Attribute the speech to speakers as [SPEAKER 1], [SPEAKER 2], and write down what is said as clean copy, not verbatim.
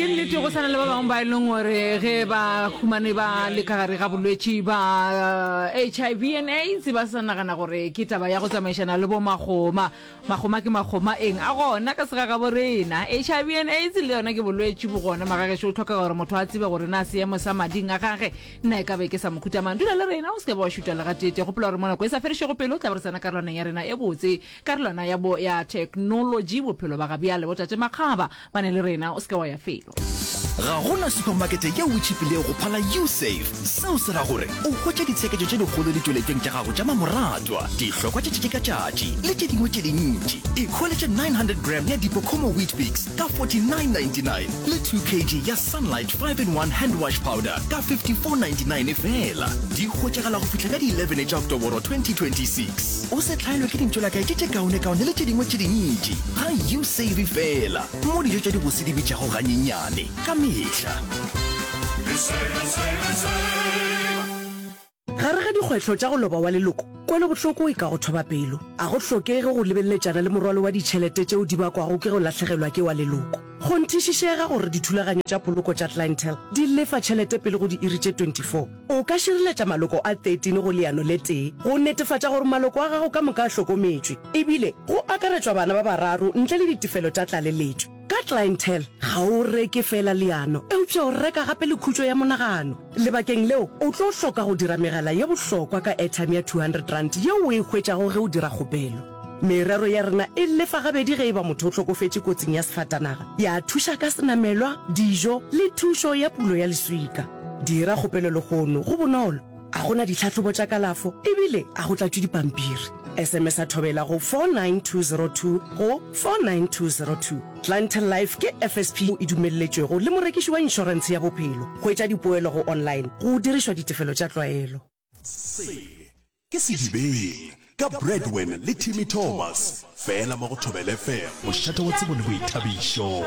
[SPEAKER 1] Ke nnete go swana le ba bangwe ba e leng gore ge ba humane ba le ka gare ga bolwetši ba HIV and AIDS ba sa nagana gore ke taba ya go tsamaišana le bo magoma. Magoma ke magoma eng a gona ka segagabo rena. HIV and AIDS le yona ke bolwetši bo gona magagešo o tlhokega gore motho a tsebe gore na seemo sa mading a gage na e ka be ke sa mohuta mang. Dula le rena o se ke ba wa šuta le gateetee. Gopola gore mo nako e sa fedišego pelo o tla be re tsena karolwaneng ya rena e botse Karolwana ya bo ya theknolotši, bophelo ba gabjale, botate Makgaba ba ne le rena, o se ke wa ya felo.
[SPEAKER 2] Ga go na supamakete yeo e tšhipilego go phala Usave. Seo se ra gore o hwetša ditsheketšo tše dikgolo ditšweletšong tša gago tša mamoratwa, dihlokwa tša tšatši ka tšatši le tše dingwe tše dintši. Ikhweletše 900 gram ya Dipocomo Weet-Bix ka 49.99 le 2 kg ya Sunlight 5-in-1 Hand Wash Powder ka 54.99 feela. Di hwetšagala go fihla ka di 11 tša Oktoboro 2026. O se hlaelwe ke dintšolakae tše tše kaonekaone le tše dingwe tše dintši ga U-Save feela, mo dijo tša dibose di bitšago ganyenyane ka mehla.
[SPEAKER 3] Gare ga dikgwetlho tša go loba wa leloko, kwelobohloko e ka go thoba pelo. A go hlokege go lebeleletšana le morwalo wa ditšhelete tšeo di bakwago ke go lahlegelwa ke wa leloko. Kgonthišišega gore dithulaganyo tša poloko tša Clientele di lefa tšhelete pele go diiri tše 24. O ka šireletša maloko a 13 go leano le tee go netefatša gore maloko a gago ka moka a hlokometšwe, ebile go akaretšwa bana ba bararo ntle le ditefelo tša tlaleletšo. Ka Clientele, ga o reke feela leano, eupša o reka gape le khutšo ya monagano. Lebakeng leo, o tlo hloka go dira megala ye bohlokwa ka airtime ya R200 yeo o e hwetšago ge o dira kgopelo. Merero ya rena e lefa gabedi ge e ba motho o hlokofetše kotsing ya sefatanaga, ya thuša ka senamelwa, dijo le thušo ya pulo ya leswika. Dira kgopelo lehono, go bonolo, a go na ditlhahlobo tša kalafo ebile a go tlatšwe dipampiri. SMS-a Thobela go 49202 go 49202. Clientele Life ke FSP e dumelletšwego le morekiši wa inšorentshe ya bophelo. Hwetša dipoelo go online go dirišwa ditefelo tša tlwaelo.
[SPEAKER 2] Se ke Sedibeng ka Bradwin le Timmy Thomas, fela mo go Thobela FM, mošate wa tsebo le boithabišo.